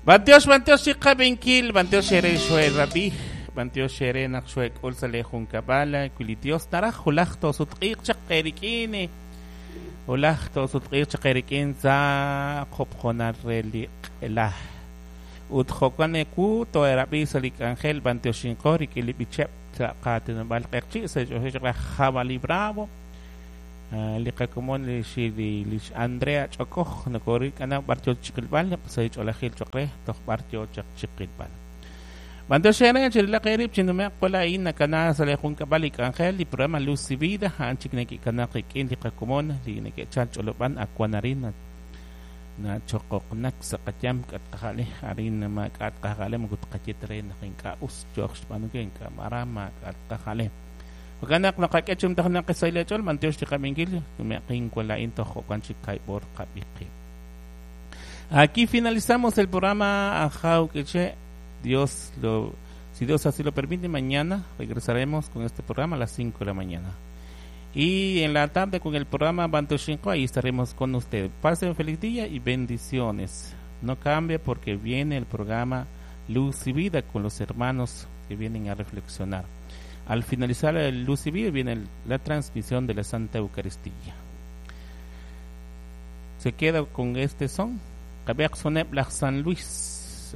B'antiox, b'antiox chiqab'inkil, b'antiox eere xoerab'i, b'antiox eere naq xoek'ul sa' lee junkab'al, wi li Dios naraj wulaj toosutq'iiq chaq eerik'in, wulaj toosutq'iiq chaq eerik'in sa' qob'jonal re li q'ela. Ut jo'kan ewu too'erab'i sa' li k'anjel b'antioxinqo rik'in li b'icheb' sa' qaatinob'aal q'eqchi' sa' xch'oxil chaq laj Jabali Bravo. Li qakomon li xi li lix Andrea Ch'okoj nokorik'ana b'ar yoo chiqilb'al sa' ch'oolejil choq' re toj b'ar yoo chaq chiqilb'al. B'antiox eere chirilaq eerib' chinume'q wala'in nakana sa' lee junkab'al li k'anjel li programa Luz y Vida a'an chik neke'kana qik'in li qakomon li neke'chal ch'olob'an akwan arin nachoqoqnak sa' qayam k'atqaja'le arin maak'a' tqaja'le moko tqaye ta re naq ink'a' us yooq xb'aanunkil ink'a' mara maak'a' tqaja'le. Jo'kan naq naqak'e chumtajnaq sa' li ch'ol b'antiox li qab'inkil nume'qin wala'in toj jo'kan chik kayb'or qab'iqi. Aquí finalizamos el programa Ajaw K'iche'. Dios lo, si Dios así lo permite, mañana regresaremos con este programa a las 5 de la mañana. Y en la tarde con el programa Bantoshinko, ahí estaremos con ustedes. Pasen un feliz día y bendiciones. No cambie porque viene el programa Luz y Vida con los hermanos que vienen a reflexionar. Al finalizar el Luz y Vida viene la transmisión de la Santa Eucaristía. Se queda con este son. Kabeq soneb laj San Luis.